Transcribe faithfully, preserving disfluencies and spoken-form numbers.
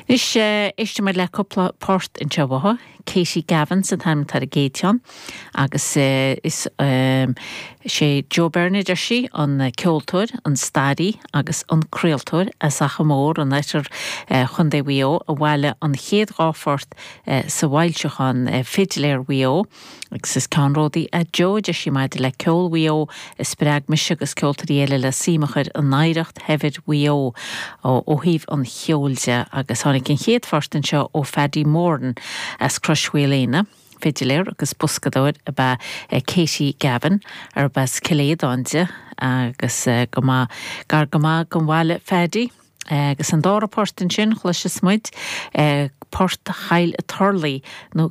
Anois éistfidh muid le cúpla port anseo uathu, Katie Gavin an t-ainm atá ar an gcéad cheann agus is sé Joe Byrne deir sí an ceoltóir, an staraí agus an craoltóir as Achadh Mór in oirthear Chontae Mhaigh Eo a bhailigh an chéad dhá phort sa bhfoilseachán Fidléir Mhaigh Eo agus is ceannródaí é Joe deir sí maidir le ceol Mhaigh Eo a spreag mise agus ceoltóirí eile le suim a chur in oidhreacht shaibhir Mhaigh Eo ó thaobh an cheoil de agus tháinig an chéad phort anseo ó Phaddy Moran as Crois Mhaoilíona. Fidiléir agus boscadóir ab ea Katie Gavin arb as Cill Aodáin di agus go maith gar go maith don bhaile Phaddy. Agus an dara port ansin chloisfidh muid port Chill Turlaigh nó